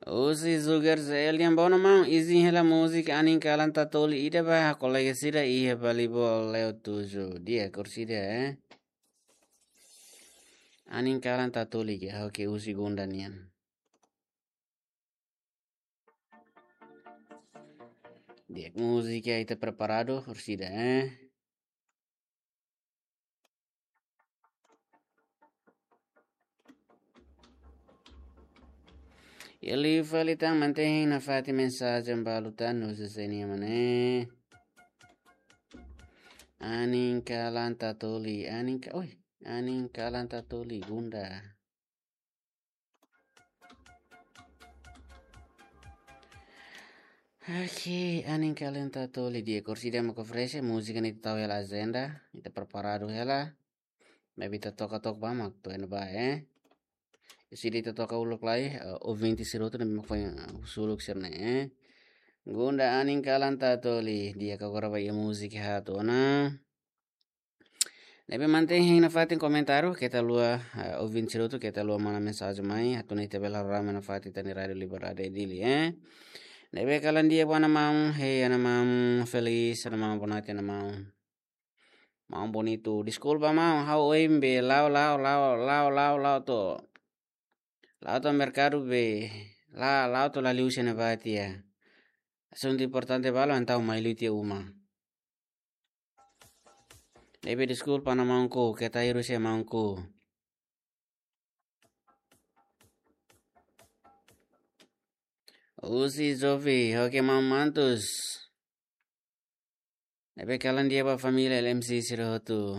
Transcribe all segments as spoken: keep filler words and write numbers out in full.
Husi Zuger Zelian, bono maun, izin hela múzika Anin Kalan Tatoli ida ba kolega sira iha Balibol Leo Tuju. Di'ak, orsida, eh? Anin Kalan Tatoli ke, oke, husi Gunda nian. Di'ak, múzika ita preparadu, orsida, eh? Liu fali tan, mantein nafatin mensajen balu tan, no se senia mane. Anin Kalan Tatoli, Anin Ka-, oi, Anin Kalan Tatoli, Gunda. Oke, Anin Kalan Tatoli, di'ak, orsida mak oferese múzika ne'e ita tau hela ajenda, ita preparadu hela. Maibé ita toka tok ba mak to'o iha ne'ebá, eh. Orsida ita toka uluk lai, eh, ouvinte sira hotu ne'ebé mak foin, eh, husu uluk sira-ne'e, eh. Gunda Anin Kalan Tatoli, di'ak, agora ba iha múzika haat ona. Ne'ebé mantein hein nafatin komentáriu, keta haluha, eh, ouvinte sira hotu, keta haluha manda mensajen mai, atu nune'e ita bele halo rame nafatin iha rádiu Liberdade Dili, eh. Ne'ebé kalan di'ak ba maun, hei maun Felis, maun Bonate, maun. Maun Bonitu, deskulpa maun, ha'u ohin be la'o, la'o, la'o, la'o, la'o, la'o to'o, la'o to'o merkadu be, la, la'o to'o la liu husi ne'ebá tiha. Asuntu importante balu, entaun mai liu tiha uma. Ne'ebé deskulpa ona maunku, keta hirus iha maunku. Husi Zofi, oke maun Mantus. Ne'ebé kalan di'ak ba família L M C sira hotu.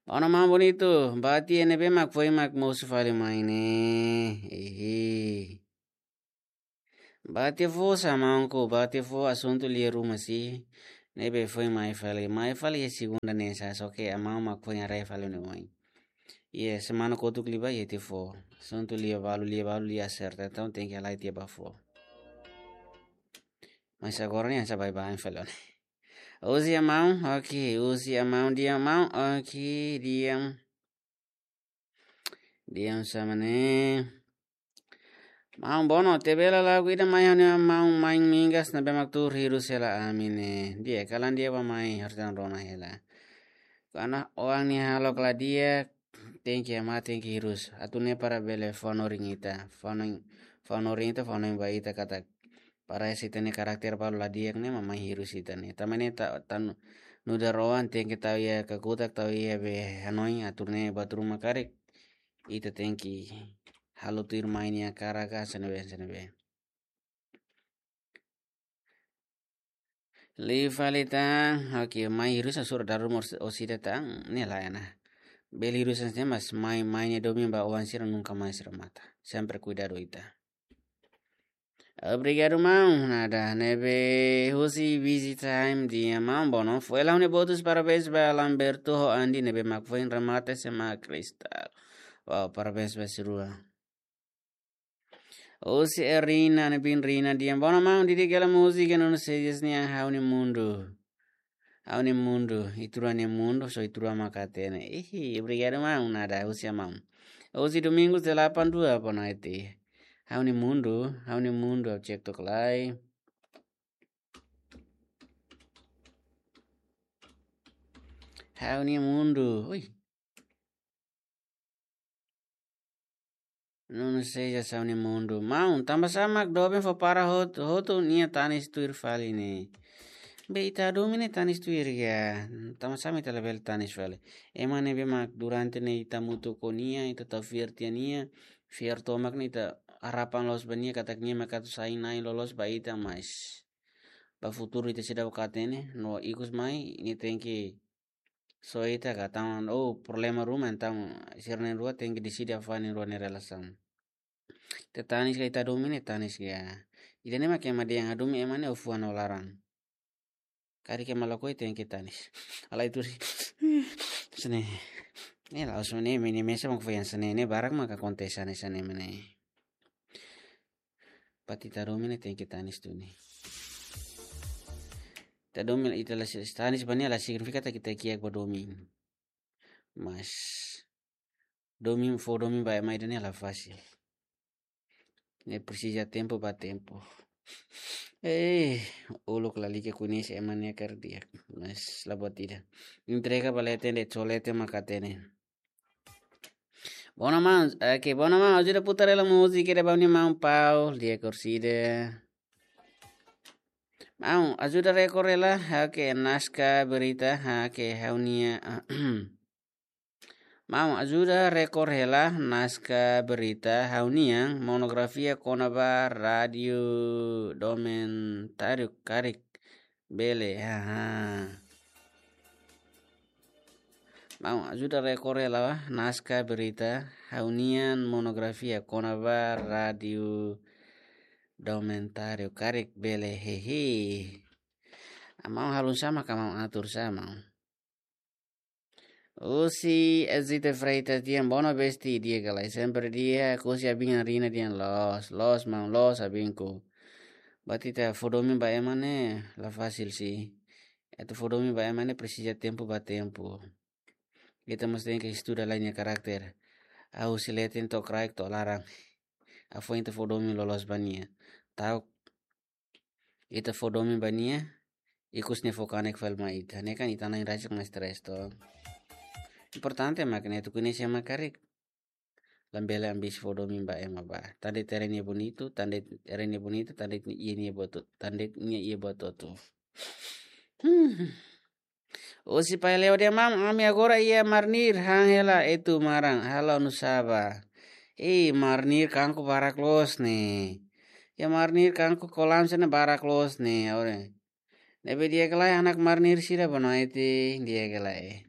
Ona maun Bonitu, ba tiha ne'ebé mak foin mak mosu fali mai ne'e. Ihi. Ba tiha fó sá maunku, ba tiha fó, asuntu lia ruma sih. Ne'ebé foin mai fali, mai fali iha segunda ne'e sá, só ke maun mak foin haree fali ne'e oin. Iha semana kotuk liubá iha tiha fó. Asuntu lia balu, lia balu, lia aserta, entaun tenke halai tiha ba fó. Mas agora ne'e hanesan baibain fali ona. Husi maun, oke, husi maun, di'ak maun, oke, di'ak. Di'ak, sá mane. Maun Bono, tebela lagu ida mai ha'u-nia maun Main Mingas ne'ebé mak tuur hirus hela ami ne'e. Di'ak, kalan di'ak ba mai, harus dan rona hela. Karena oan nia hahalok la di'ak, tenke ama, tenke hirus. Atu nune'e para bele fó hanorin ita, fó hanoin, fó hanorin ita, fó hanoin ba ita katak para ese ita-nia karakter balu la di'ak ne'e mak mai hirus ita ne'e. Tanba ne'e ta, tan nu'udar oan tenke tau iha kakutak, tau iha be hanoin, atu nune'e buat ruma karik, ita tenke halo tuir mai nia hakarak ka hanesan ne'ebé, hanesan ne'ebé. Liu fali tan, oke, mai hirus hasoru daru mós orsida tan, ne'e lae ona. Bele hirus hanesan ne'e mas mai, mai nia domin ba oan sira nunka mais remata. Sempre kuidadu ita. Obrigadu maun, nada, ne'ebé husi Busy Time, di'ak maun Bono. Foin ha'u-nia boot husi parabéns ba Lamberto ho Andi ne'ebé mak foin remata S M A Cristal. Wow, parabéns ba sira rua. Husi Erina, ne'e bin Rina, di'ak, bono maun, di'ak, di'ak, hela múzika Nuno Sejas nian, Ha'u-nia Mundu. Ha'u-nia Mundu, ita rua nia mundu, só ita rua mak hatene. Ihi, obrigadu maun, nada, husi maun. Husi Domingos delapan dua, boa noite. Ha'u-nia Mundu, Ha'u-nia Mundu, ha'u cek tok lai. Ha'u-nia Mundu, ui. Nuno Sejas, Ha'u-nia Mundu. Maun, tanba sá mak doben fó para hot-, hotu nia tanis tuir fali ne'e. Be ita domin ne'e tanis tuir ka. Tanba sá mak ita labele tanis fali. Ema ne'ebé mak durante ne'e ita hamutuk ho nia, ita tau fiar tiha nia, fiar tomak ne'e ita harapan loos ba nia katak nia mak atu sai na'in loloos ba ita, mas ba futuru ita seidauk hatene, no ikus mai, nia tenke só ita ka tan, oh, problema ruma, entaun sira na'in rua tenke deside hafoin na'in rua nia relasaun. Ita tanis ka ita domin ne'e tanis ka. Ida-ne'e mak ema dehan hadomi ema ne'e ho fuan no laran. Karik ema lakohi tenke tanis. Halai tuur. Hanesan ne'e. Ne'e la'ós ne'e, mene mesa mak foin hanesan ne'e, ne'e barak mak akontese hanesan ne'e mak ne'e. Buat ita domin ne'e tenke tanis duni. Ita domin, ita la si-, tanis ba nia la signifika katak ita kiak ba domin. Mas domin, fó domin ba ema ida-ne'e la fasil. Ne'e presiza tempu ba tempu. Eh, uluk lalika koñese ema nia kardiak. Mas la buat ida. Entrega ba leten de'it, só leten mak hatene. Bona maun, oke, bona maun, ajuda putar hela múzika ida ba ha'u-nia maun Paul, di'ak orsida. Maun, ajuda rekor hela, oke, naskah berita, oke, ha'u-nia, maun, ajuda rekor hela, naskah berita, ha'u-nian, monografia kona-ba rádiu dokumentáriu karik. Bele, haha. Maun, ajuda rekor hela naskah berita, ha'u-nian monografia kona-ba rádiu dokumentáriu karik bele, hehe. Maun halo sá mak maun atur sá maun. Husi Ezita Freitas dehan, bono besti, di'ak ka lae, sempre di'ak, husi Abin Arina dehan, loos, loos maun, loos Abinku. Berarti ita fó domin ba ema ne'e la fasil sih. Atu fó domin ba ema ne'e presiza tempu ba tempu. Ita mós tenke estuda lai nia karakter. Hahú husi leten to'o kraik to'o laran. Ha'u foin ita fó domin loloos ba nia. Ta'uk ita fó domin ba nia, ikus nia fó kanek fali mai ita. Ne'e kan ita na'in rasik mak stres to. Importante mak ne'e atu koñese ema karik. Labele ambisi fó domin ba ema ba. Tan de'it ere nia bonitu, tan de'it ere nia bonitu, tan de'it iha nia buat, tan de'it nia iha buat hotu. Hmm. Husi Pai Leo dehan, maun, ami agora iha Marnir, han hela Etu Maran, halo nusá ba. Ih, Marnir kanku barak loos ne'e. Iha Marnir kanku kolam sira-ne'e barak loos ne'e, ore. Ne'ebé di'ak ka lae anak Marnir sira, bonoite, di'ak ka lae.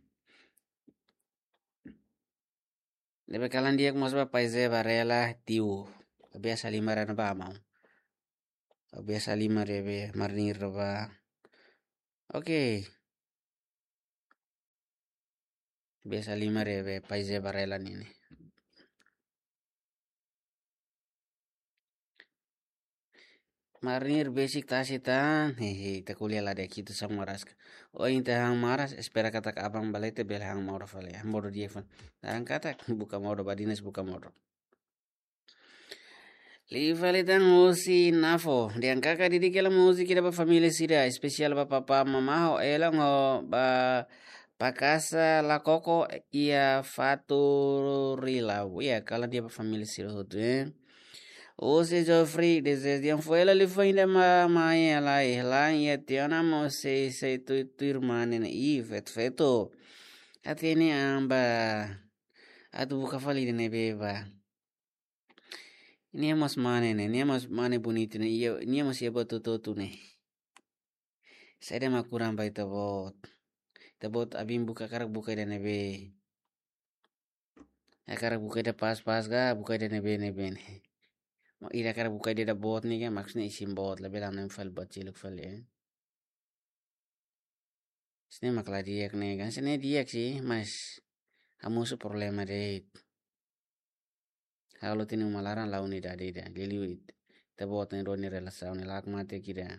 Ne'ebé kalan di'ak mós ba Pai Zé Varela, tiu. Biasa lima rana ba maun. Biasa lima rebe Marnir ba. Oke. Biasa lima rebe Pai Zé Varela nian ne'e. Marnir besik tasi tan, hehe, ita ko'alia la di'ak, ita só moras ka. Ohin ita han maras, espera katak aban ba leten bele han modo fali, han modo di'ak fali. Laran katak buka modo, badinas buka modo. Liu fali tan husi Nafo, dehan kaka didik hela múzika ida ba família sira, espesiál ba papá mamá ho ela no ba Pakasa la koko iha Faturila. Iha kalan di'ak ba família sira hotu, eh. Husi Geoffrey, dezeju di'ak fó hela liafuan ida ba maun Elaine, iha tiha ona mós sei, sei tuir, tuir mane ne'e. Ih, feto, feto. Hatene an ba. Atu buka fali ida ne'ebé ba. Nia mós mane ne'e, nia mós mane bonitu ne'e, iha, nia mós iha buat hotu-hotu ne'e. Saida mak kurang ba ita-boot. Ita-boot abin buka hakarak buka ida ne'ebé. Hakarak buka ida pas-pas ka, buka ida ne'ebé-ne'ebé ne'e. Mak ida hakarak buka ida boot ne'e ka, maksudnya isin boot, labele hanoin fali buat seluk fali, eh. Sini mak la di'ak ne'e kan, sini di'ak sih, mas hamosu problema de'it. Halo tini uma laran la unidade ida, liuliu ita-boot ne'e duni relasaun ne'e lak mate kira.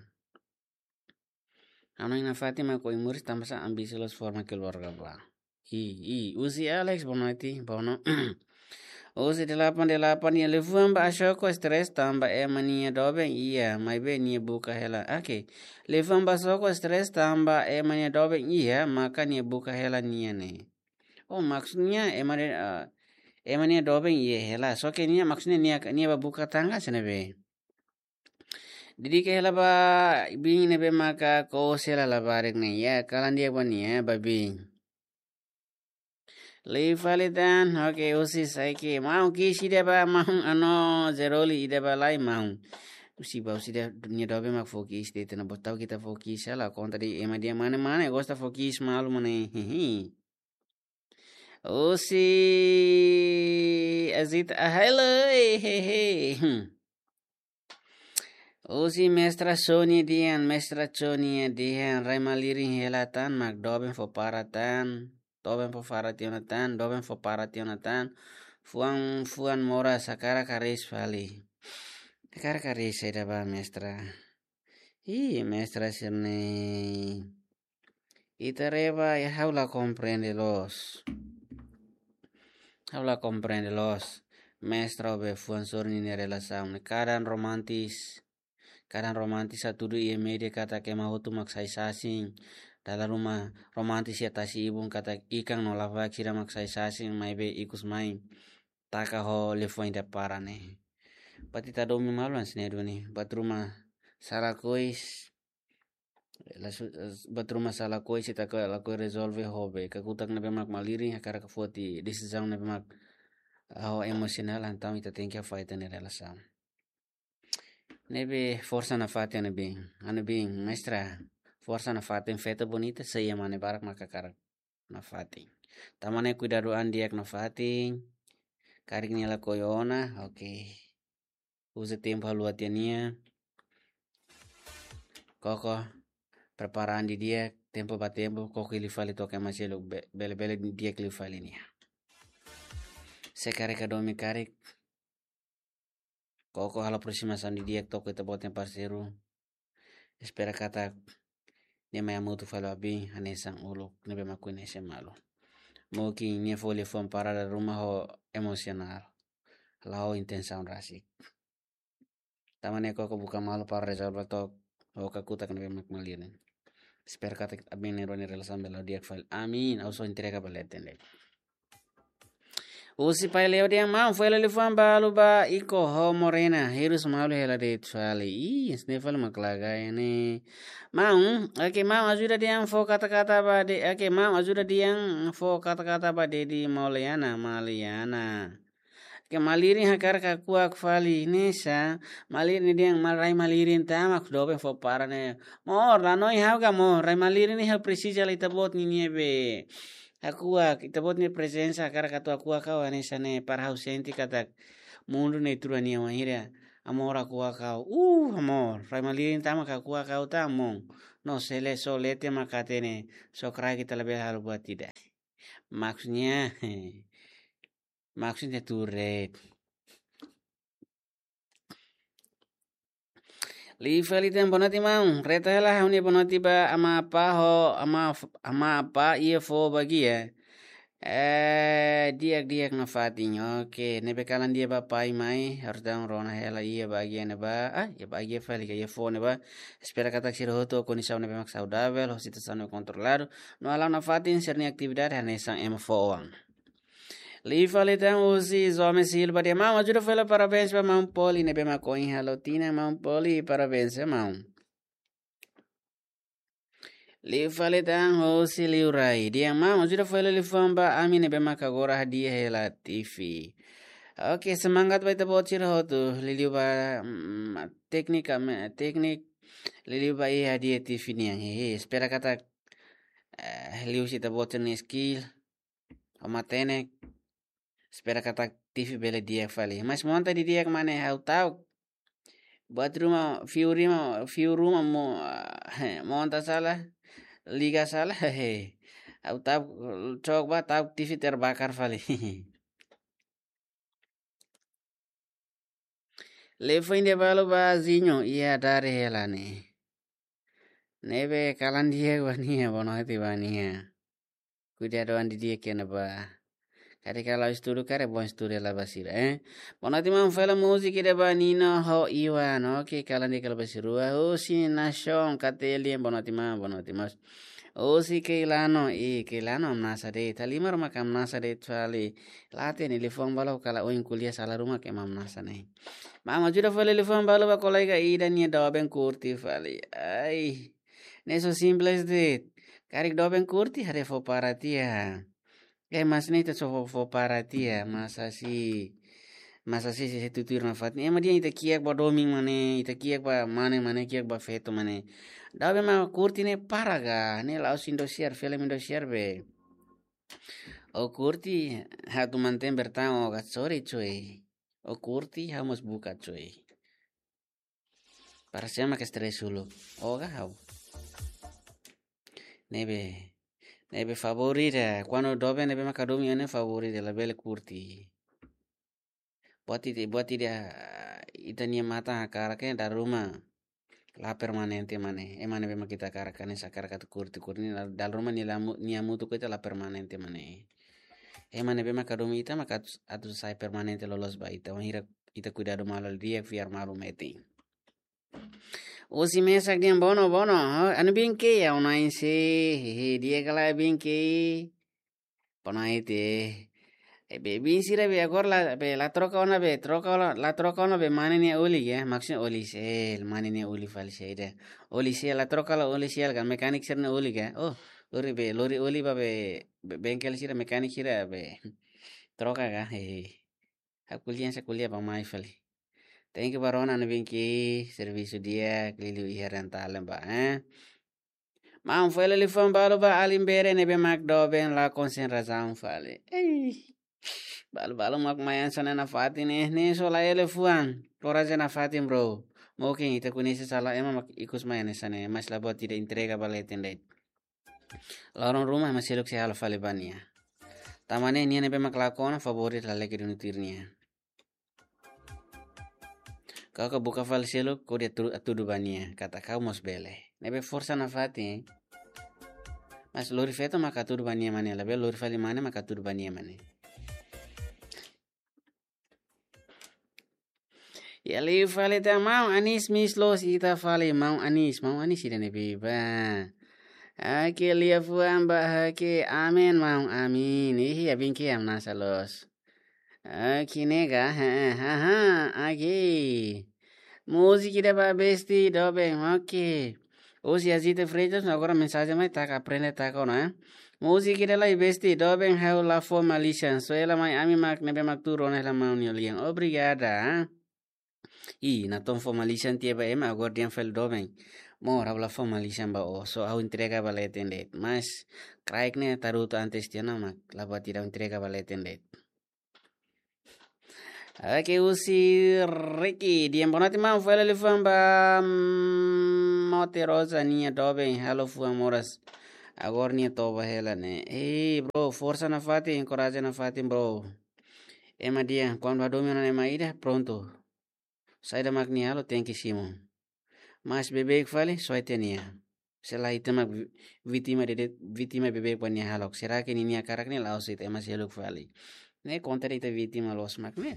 Hanoin nafatin mak oin moris tanba sá, ambisi loos forma keluarga ba. I, i, husi Alex, bonoite, bono. Husi delapan delapan, iha liafuan ba Asoko stres tanba ema nia doben iha, maibé nia buka hela. Oke. Liafuan ba Asoko stres tanba ema nia doben iha, maka nia buka hela nia ne'e. Oh, maksudnya ema de, eh, ema nia doben iha hela. Só ke nia maksudnya nia, nia ba buka tangga sene be. Didik hela ba biin ne'ebé maka kose hela labarik ne'e. Iha kalan di'ak ba nia, ba biin. Liu fali tan, oke, husi Saiki. Maun ki'ik ida ba, maun, ano, Zeroli ida ba lai, maun. Husi ba, husi ida, nia doben mak fó ki'ik ida, ita-nia botau kita fó ki'ik hela, konta de'it ema dehan mane-mane, gosta fó ki'ik malu mane, hihi. Husi Azit, ah, hello, eh, he, he. Hmm. Husi Mestra Sonia dehan, Mestra Sonia dehan, rai malirin hela tan, mak doben fó para tan, doben fó para tiha ona tan, doben fó para tiha ona tan, fuan, fuan moras, hakarak hariis fali. Hakarak hariis saida ba, Mestra. Ih, Mestra sira-ne'e. Ita reba, ya, ha'u la komprende loos. Ha'u la komprende loos. mestra ho be fuan sorin nia relasaun ne'e. Kadang romantis, kadang romantis hatudu iha média katak ema hotu mak sai sasin. Dala ruma romantis iha tasi-ibun katak ikan no lavaek sira mak sai sasin, maibé ikus mai taka ho liafuan ida para ne'e. Buat ita domin malu hanesan ne'e duni. Buat ruma sala kois. Lasu-, buat ruma sala kois ita ka lakohi rezolve ho be kakutak ne'ebé mak malirin, hakarak foti desizaun ne'ebé mak ho emosionál, entaun ita tenke afeta nia relasaun. Ne'ebé forsa nafatin, anu bin, anu bin, mestra, forsa nafatin, feto bonita, sei ema ne'e barak mak hakarak nafatin. Tanba ne'e kuidadu an di'ak nafatin. Karik nia lakohi ona, oke. Uza tempu haluha tiha nia. Koko, prepara an didi'ak, tempu ba tempu, koko hili fali to'o ema seluk be-, bele-bele di'ak liu fali nia. Se karik hadomi karik, koko halo aprosimasaun didi'ak to'o ita-boot nia parseiru. Espera katak nia mai hamutuk fali ho abin hanesan uluk ne'ebé mak koñese malu. Mungkin nia fó liafuan para dala ruma ho emosionál, la'o intensaun rasik. Tanba ne'e koko buka malu para rezolve to'ok ho kakutak ne'ebé mak malirin. Espera katak abin nia roni relasaun bele la'o di'ak fali. Amin. Ha'u só entrega ba leten de'it. Husi Pai Leo dehan: Maun, fó hela liafuan balu ba Iko ho Morena, hirus malu hela de'it fali. Ih, hanesan ne'e fali mak lagai ne'e. Maun, oke, maun, ajuda dehan fó kata-kata ba de-, oke, maun, ajuda dehan fó kata-kata ba Dedi Mauliana, Maliana. Oke, malirin hakarak hakuak fali, hanesan malirin dehan, maun, rai malirin tama, doben fó para ne'e. Amor, la noi hau ka amor, rai malirin ne'e ha'u presiza hela ita-boot ninia be hakuak, ita-boot nia prezensa hakarak atu hakuak ha'u hanesan ne'e, para ha'u sente katak mundu ne'e tuur nia wainhira amor hakuak ha'u. Uh, amor, rai malirin tama ka hakuak ha'u tama. No se lae, só leten mak hatene, só kraik ita labele halo buat ida. Maksudnya, maksudnya tuur de'it. Liu fali dehan: Boa noite, maun. Reta hela ha'u-nia boa noite ba amá apá ho, amá, amá apá iha foho bagia. Eh, di'ak-di'ak nafatin. Oke, ne'ebé kalan di'ak ba pai mai, harus daudaun rona hela iha bagia ne'ebá. Ah, iha bagia fali ka iha foho ne'ebá. Espera katak sira hotu ho kondisaun ne'ebé mak saudavel, ho situasaun ne'ebé kontroladu. No halo nafatin sira-nia atividade hanesan ema foho oan. Liu fali tan husi Zome Silva dehan: Maun, ajuda fó hela parabéns ba maun Poli ne'ebé mak ohin halo tinan, maun Poli, parabéns, eh, maun. Liu fali tan husi Liu Rai dehan: Maun, ajuda fó hela liafuan ba ami ne'ebé mak agora hadi'a hela TV. Oke, semangat ba ita-boot sira hotu, liuliu ba, mm, téknika, me-, téknik, liuliu ba iha hadi'a TV nian. Hehe, espera katak, eh, liu husi ita-boot sira-nia skill, ho matenek. Espera katak TV bele di'ak fali. Mas monta didi'ak mak ne'e, ha'u ta'uk. Buat ruma, fiu ruma, fiu ruma mo-, monta sala, liga sala, hehe. Ha'u ta'uk, cok ba, ta'uk TV terbakar fali. Liafuan ida balu ba Zinho, iha dari hela ne'e. Ne'ebé kalan di'ak ba nia, boa noite ba nia. Kuidadu an didi'ak iha ne'ebá. Karik halo estudu karik bom estudu hela ba sira, eh. Boa noite maun, fó hela múzika ida ba Nino ho Iwan. Oke, kalan di'ak hela ba sira rua. Husi Nashon Katelian, boa noite maun, boa noite maun. Husi Keilano, i Keilano hamnasa de'it. Halimar mak hamnasa de'it fali. La hatene liafuan balu, kala ohin ko'alia sala ruma ke hamnasa ne'e. Maun, ajuda fó hela liafuan balu ba kolega ida nia doben kurti fali. Ai. Ne'e só simples de'it. Karik doben kurti, haree fó para tiha. Eh, mas ne'e ita só fó, fó para tiha, mas hanesan, mas hanesan sei, sei tutuir nafatin. Ema dehan ita kiak ba domin mak ne'e, ita kiak ba mane mak ne'e, kiak ba feto mak ne'e. Doben mak kurti ne'e para ka, ne'e la'ós Indosiar, filme Indosiar be. Ó kurti, ha'u atu mantein bertahan ó ka, sorry cuy. Ó kurti, ha'u mós buka cuy. Para sé mak estrés uluk? Ó ka ha'u? Ne'ebé, ne'ebé favór ida, kuandu doben ne'ebé mak hadomi ne'e favór ida, labele kurti. Buat ida, buat ida, ita-nia matan hakarak ke dala ruma la permanente mak ne'e. Ema ne'ebé mak ita hakarak hanesan hakarak atu kurti, kurti ne'e dala ruma nia la mu-, nia hamutuk ho ita la permanente mak ne'e. Ema ne'ebé maka hadomi ita maka atu, atu sai permanente loloos ba ita. Wainhira ita kuidadu malu di'ak, fiar malu metin. Husi mesak dehan bono, bono. Anu bin ke ya unai se. Hehe, di'ak ka lae bin ke. Bono ai te. Eh, be bin sira be agora la, be la troka ona be, troka ona, la troka ona be mane nia oli ya. Maksudnya oli sel, mane nia oli fali saida. Oli sel la troka la oli sel ka, mekanik sira-nia oli ka. Oh, lori be, lori oli ba be, be, bengkel sira, mekanik sira be. Troka ka, hehe. Ha'u ko'alia, ha'u ko'alia ba mai fali. Thank you ba rona anu bin ke, servisu di'ak, liuliu iha rental ba, eh. Maun, fó hela liafuan balu ba alin bere ne'ebé mak doben la konsentrasaun fali. Ei. Balu-balu mak mai hanesan ne'e nafatin ne'e, ne'e só la iha liafuan. Korajen nafatin, bro. Mungkin ita koñese sala ema mak ikus mai hanesan ne'e, mas la buat ida entrega ba leten de'it. Loron ruma ema seluk sei halo fali ba nia. Tanba ne'e nia ne'ebé mak lakon favór de'it lalika duni tuir nia. Kau ka buka fali seluk, kau dehan tu-, tudu ba nia, katak kau mós bele. Ne'ebé forsa nafatin, eh. Mas lori feto maka tudu ba nia mane, labele lori fali mane maka tudu ba nia mane. Ya liu fali tan maun Anis, miss loos ita fali maun Anis, maun Anis ida ne'ebé ba. Oke, liafuan ba ha'u ke, amen maun, amin. Ih, ya bin ke hamnasa loos. Oke, nega, ha, ha, ha, oke. Múzika ida ba besti doben, oke. Husi Azita Freitas, agora mensajen mai taka, aprende taka ona, eh. Múzika ida lai besti doben, ha'u la fó malisan. Só hela mai ami mak ne'ebé mak tuur ona hela maun nia lian. Obrigada, eh. Ih, natoon fó malisan tiha ba ema, agora dehan fali doben. Maun, ha'u la fó malisan ba ó, só ha'u entrega ba leten de'it. Mas, kraik ne'e tarutu antes tiha ona mak, la buat ida ha'u entrega ba leten de'it. Oke, husi Ricky, dehan bonoite maun, fó hela liafuan ba, mm, Mote Rosa nia doben, halo fuan moras. Agora nia toba hela ne'e. Ei, bro, forsa nafatin, korajen nafatin, bro. Ema dehan, kuandu hadomi ona ema ida, prontu. Saida mak nia halo, tenke simu. Mas beibeik fali, soe tiha nia. Se lae ita mak vi-, vítima de'it, vítima beibeik ba nia hahalok. Será que ninia hakarak ne'e la'ós ita ema seluk fali. Ne'e kontra ita vítima loos mak ne'e.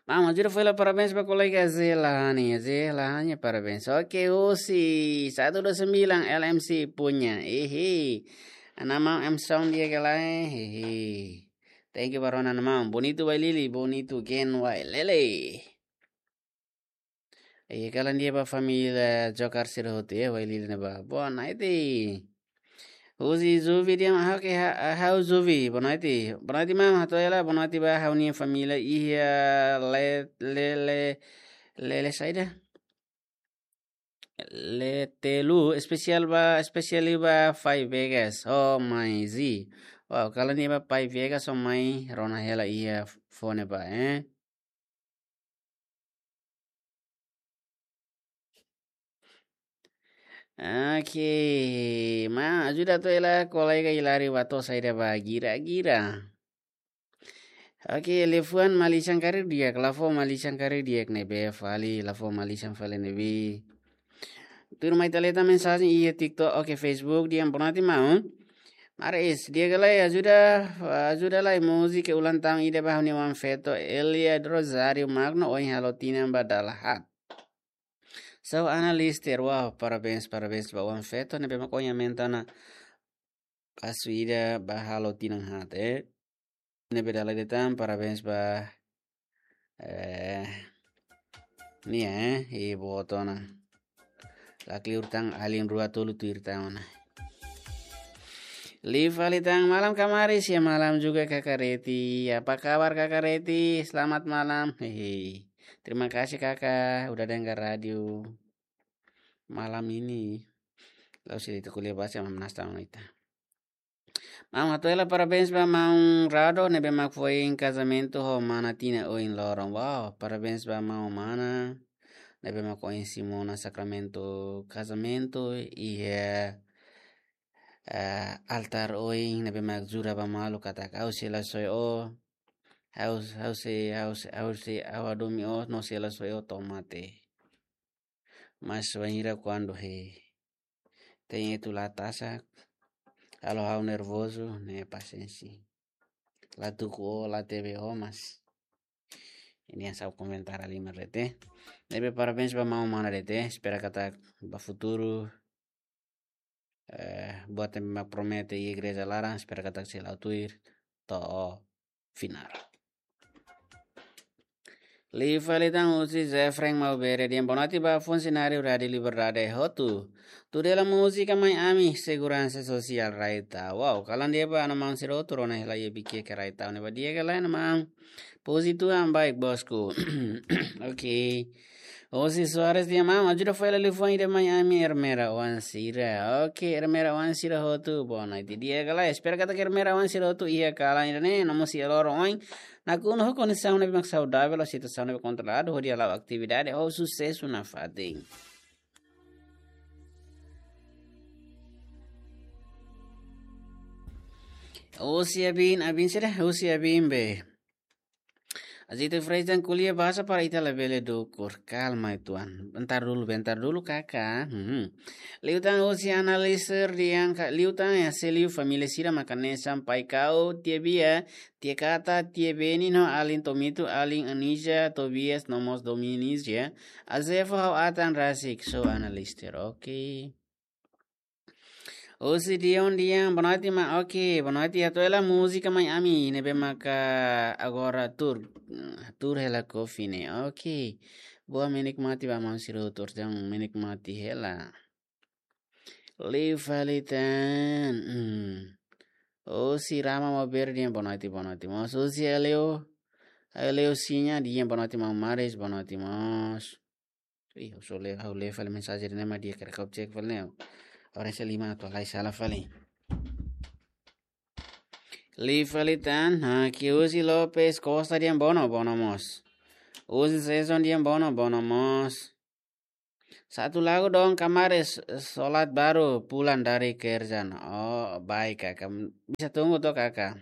Maun, ajuda fó hela parabéns ba kolega Zé Lahani. Zé Lahani, parabéns. Oke, husi satu dua sembilan L M C punya. Ehe. Ana maun M Sound di'ak ka lae. Ehe. Thank you ba rona maun. Bonitu Wailili, bonitu Gen Wailele. E kalan di'ak ba família Jokar sira hotu, eh, Wailili ne'ebá. Boa noite. Husi Zuvi dehan ha'u ke ha-, ha'u Zuvi. Boa noite. Boa noite, maun. Hato'o hela, boa noite ba ha'u-nia família iha le-, le-, le-, lele saida? Letelu, espesiál ba, espesiál ba Pai Vegas. Oh, mai zi. Wow, kalan di'ak ba Pai Vegas, oh, mai rona hela iha fone ba, eh. Oke, maun, ajuda hato'o hela kolega Hilari ba to'o saida ba gira-gira. Oke, liafuan malisan karik di'ak, la fó malisan karik di'ak ne'ebé fali, la fó malisan fali ne'ebé. Tuirmai ita lee tan mensajen iha TikTok, oke, Facebook, dehan boa noite maun. Maris, di'ak ka lae, ajuda, ajuda lai múzika ulang tahun ida ba ha'u-nia oan feto, Elia Rosario Magno, ohin halo tinan ba dala haat. So, Ana Lister, wow, parabéns, parabéns ba oan feto ne'ebé mak ohin aumenta ona pasu ida ba halo tinan haat, eh. Ne'ebé dala ida tan, parabéns ba, eh, nia, eh, i boot ona. La kleur tan, alin rua tolu tuir tan ona. Liu fali tan, malam Kak Maris, ya malam juga Kakak Reti. Apa kabar Kakak Reti? Selamat malam. Hehe. Terima kasih Kakak, udah dengar radio malam ini. Lalu si itu kuliah bahasa mamnas tamu ita. Maun, hato'o hela parabéns ba maun Rado ne'ebé mak foin kazamentu ho mana tinan ohin loron. Wow, parabéns ba maun mana ne'ebé mak ohin simu ona sakramentu kazamentu iha, eh, altár ohin, ne'ebé mak jura ba malu katak ha'u sei la soe ó, ha'u, ha'u sei, ha'u sei, ha'u sei, ha'u hadomi ó, no sei la soe ó to'o mate. Mas wainhira kuandu he tein etu la tasak, halo ha'u nervozu, ne'e pasiénsia. la tuku ó, la tebe ó, mas nia ha'u komentar halimar de'it. Ne'ebé parabéns ba maun mana de'it. Espera katak ba futuru, eh, buat ne'ebé mak promete iha igreja laran, espera katak sei la'o tuir to'o finál. Liu fali tan husi Zefren Maubere dehan boa noite ba funsionáriu Rádiu Liberdade hotu. Tuda hela múzika Mai Ami, seguransa sosiál rai tau. Wow, kalan di'ak ba, ana maun sira hotu rona hela iha Viqueque rai tau ne'ebá di'ak ka lae, ana maun? Puji Tuhan, baik bosku. Oke. Osi Soares dehan maun, ajuda fó hela liafuan ida Mai Ami, Ermera oan sira. Oke, Ermera oan sira hotu, boa noite di'ak ka lae? Espera katak Ermera oan sira hotu iha kalan ida-ne'e, no mós iha loron oin nakonu ho kondisaun ne'ebé mak saudavel, situasaun ne'ebé kontroladu, hodi hala'o atividade ho susesu nafatin. Osi Abin, Abin sira, osi Abin be. Azito Freizan, ko'alia bahasa para ita labele dukur. Kalma, tuan. Bentar dulu, bentar dulu, kakak. Hmm. Liután osi analisir dehan ka, liután ya, se liu família sira mak hanesan pai Kau, tia Bia, tia Kata, tia Beni no alin Tomito, alin Anija, Tobias, no mós Dominis ya. Azefa ha'u atan rasik, so analisir, oke. Osi Dion dehan, boa noite, ma, oke, boa noite, atu hela múzika Mai Ami, ne'ebé maka agora tuur, tuur hela kofi ne'e, oke. Boa menikmati ba maun sira hotu, tuur jam menikmati hela. Liu fali tan, hmm. Osi Rama Maubere dehan, boa noite, boa noite, mós. Osi Aleu, Aleu Sinya dehan, boa noite, maun Maris, boa noite, mós. Ih, ha'u só lee, ha'u lee fali mensajen ne'e mak di'ak, karik ha'u cek fali ne'e. Orang selima atu halai sala fali. Liu fali tan, ha, ke Uzi Lopes Costa dehan bono, bono mós. Uzi Season dehan bono, bono mós. Satu lagu dong, kamares, solat baru pulang dari kerja. Oh, baik, kakak. Bisa tunggu toh, kakak.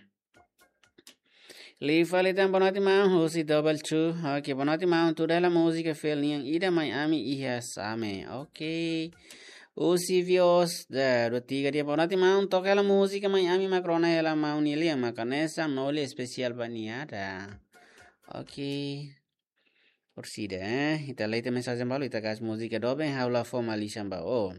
Liu fali tan, boa noite maun, husi Double Two. Oke, boa noite maun, tuda hela múzika fiel nian ida Mai Ami iha Same. Oke. Husi Vios da dua tiga dehan, boa noite maun, toka hela múzika Mai Ami mak rona hela maun nia lian, maka hanesan Noli, espesiál ba nia ida. Oke. Orsida, eh. Ita lee tiha mensajen balu, ita kasih múzika doben, ha'u la fó malisan ba ó.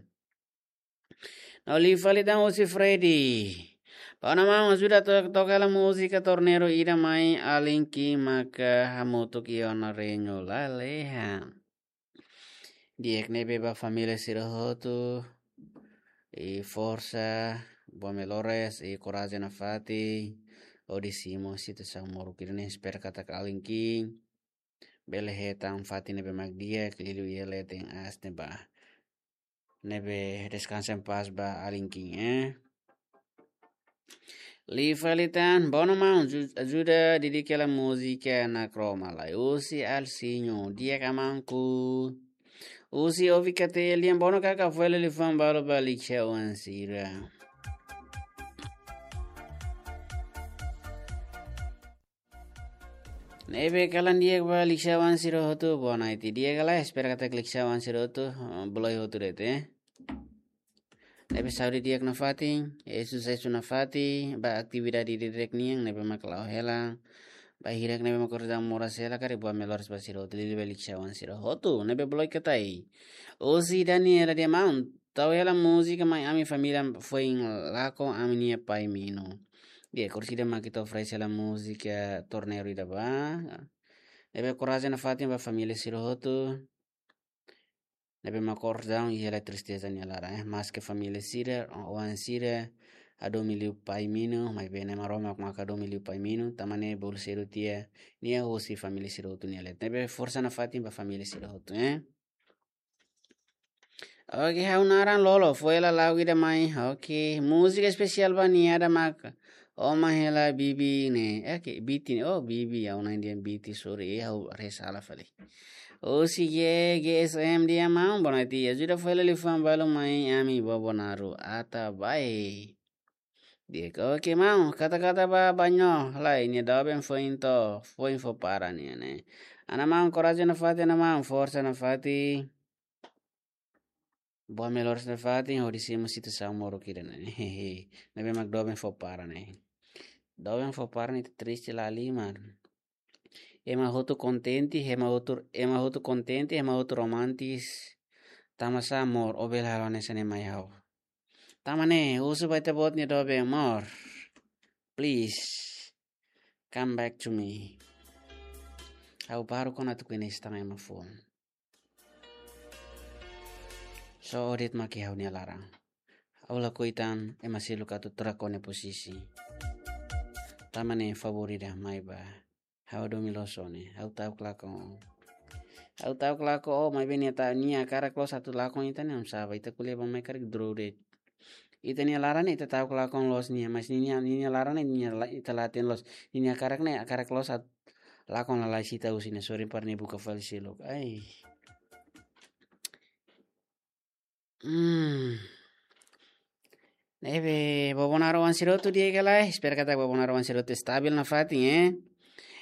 No liu fali tan husi Freddy. Ba ona maun ajuda to-, toka hela múzika Torneiro ida mai alin ki'ik maka hamutuk iha ona reñu lalehan. Di'ak, ne'ebé ba família sira hotu. I forsa, boa melores, i korajen nafatin. Hodi simu situasaun moruk ida-ne'e, espera katak alin ki'ik bele hetan fatin ne'ebé mak di'ak, liuliu iha leten aas ne'ebá. Ne'ebé deskansa en pas ba alin ki'ik, eh. Liu fali tan, bono maun, ju-, ajuda didik hela múzika Nakro Malai. Husi Alsinho, di'ak ka maun? Husi Ovi Katelian, bono kakak, fó hela liafuan balu ba Liksha oan sira. Ne'ebé kalan di'ak ba Liksha oan sira hotu, boa noite di'ak ka lae? Espera katak Liksha oan sira hotu, eh, bele hotu de'it, eh. Ne'ebé saúde di'ak nafatin, eh, susesu nafatin ba atividade didi'ak nian ne'ebé mak la'o hela. Ba hirak ne'ebé mak kordam moras hela karik boa melores ba sira hotu, liuliu ba Liksha oan sira hotu ne'ebé bele katai. Husi Daniela dehan maun, tau hela múzika Mai Ami, família foin lakon ami-nia pai Minu. Di'ak, orsida mak ita oferese hela múzika Torneiro ida ba. Ne'ebé korajen nafatin ba família sira hotu. Ne'ebé mak kordam iha hela tristeza nia laran, eh. Maske família sira, oan sira hadomi liu pai Minu, maibé Na'i Maromak mak hadomi liu pai Minu, tanba ne'e bolu sedu tiha nia husi família sira hotu nia leet. Ne'ebé forsa nafatin ba família sira hotu, eh. Oke, ha'u naran Lolo, fó hela lagu ida mai. Oke, múzika espesiál ba nia ida maka Oma hela Bibi ne'e. Oke, Biti ne'e. Oh, Bibi, ha'u-nia dehan Biti, sorry, eh, ha'u haree sala fali. Husi G G S M dehan maun, boa noite, ajuda fó hela liafuan balu Mai Ami, Bobonaro, Atabae. Di'ak, oke maun, kata-kata ba Banho, lae, nia doben foin to'o, foin fó para nia ne'e. Ana maun, korajen nafatin, ana maun, forsa nafatin. Boa melores nafatin, hodi simu situasaun moruk ida-ne'e. Ne'ebé mak doben fó para ne'e. Doben fó parte ne'e ita triste la halimar. Ema hotu kontente, ema hotu, ema hotu kontente, ema hotu romantis. Tanbasá amor, ó bele halo hanesan ne'e mai ha'u. Tanba ne'e, husu ba ita-boot nia doben amor. Please, come back to me. Ha'u baru kona tuku ini setengah ema foun. So, ó de'it mak iha ha'u-nia laran. Ha'u lakohi tan ema seluk atu troka ó-nia posisi. Tanba ne'e favór ida mai ba. Ha'u hadomi loos ó ne'e. Ha'u ta'uk lakon ó. Ha'u ta'uk lakon ó, maibé nia ta, nia hakarak loos atu lakon ita ne'e, oinsá ba ita ko'alia ba mai karik dro de'it. Ita-nia laran ne'e ita ta'uk lakon loos nia, mas ninia, ninia laran ne'e nia la-, ita la hatene loos. Ninia hakarak ne'e, hakarak loos atu lakon lalais ita husi ne'e, sorry para nia buka fali seluk. Ai. Hmm. Ne'ebé, vovó Nara oan sira hotu di'ak ka lae? Espera katak vovó Nara oan sira hotu stabil nafatin, eh?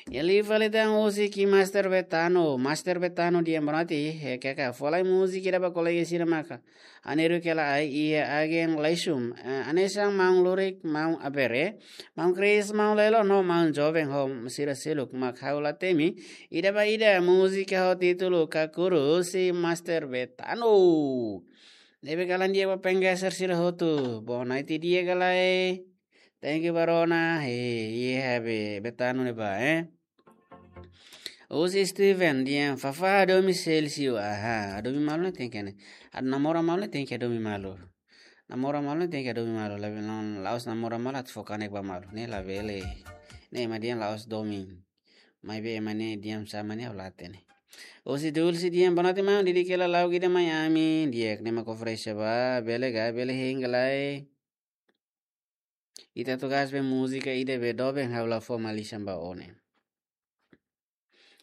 Iha liu fali tan husi Master Betano, Master Betano di'ak, boa noite, eh, kaka, fó lai múzika ida ba kolega sira maka. Hanesan ne'e ka lae, iha agen Laisum, eh, hanesan maun Lurik, maun Abere, maun Kris, maun Lelo, no maun joven ho sira seluk mak ha'u la temi, ida ba ida, múzika ho títulu Kakuru husi Master Betano. Ne'ebé kalan di'ak ba penggeser sira hotu. Boa noite di'ak ka lae? Thank you ba rona. He, iha be, Betano ne'ebá, eh? Husi Steven, di'ak, Fafá hadomi Celcio. Aha, hadomi malu ne'e tenke ne'e. Atu namora malu ne'e tenke hadomi malu. Namora malu ne'e tenke hadomi malu. Labele, la'ós namora malu atu fó kanek ba malu. Ne'e labele. Ne'e ema di'ak la'ós domin. Maibé ema ne'e di'ak sama ne'e ha'u la hatene. Husi Dulce, di'ak, boa noite maun, di'ak ka lae, lagu ida mai ami, di'ak, ne'e mak oferese ba, bele ka, bele hein ka lae. Ita atu gás be múzika ida be doben ha'u la fó malisan ba ó ne'e.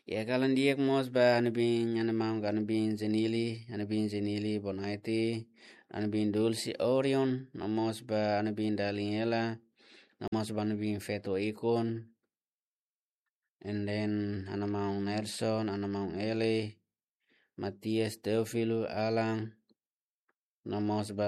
Iha kalan di'ak mós ba ha'u-nia biin, ha'u-nia maun, ha'u-nia biin Zenili, ha'u-nia biin Zenili, boa noite. Ha'u-nia biin Dulce Orion, no mós ba ha'u-nia biin Daniela, no mós ba ha'u-nia biin feto Ikon. And then, ha'u-nia maun Nelson, ha'u-nia maun Eli, Matias, Teófilo, Alan, no mós ba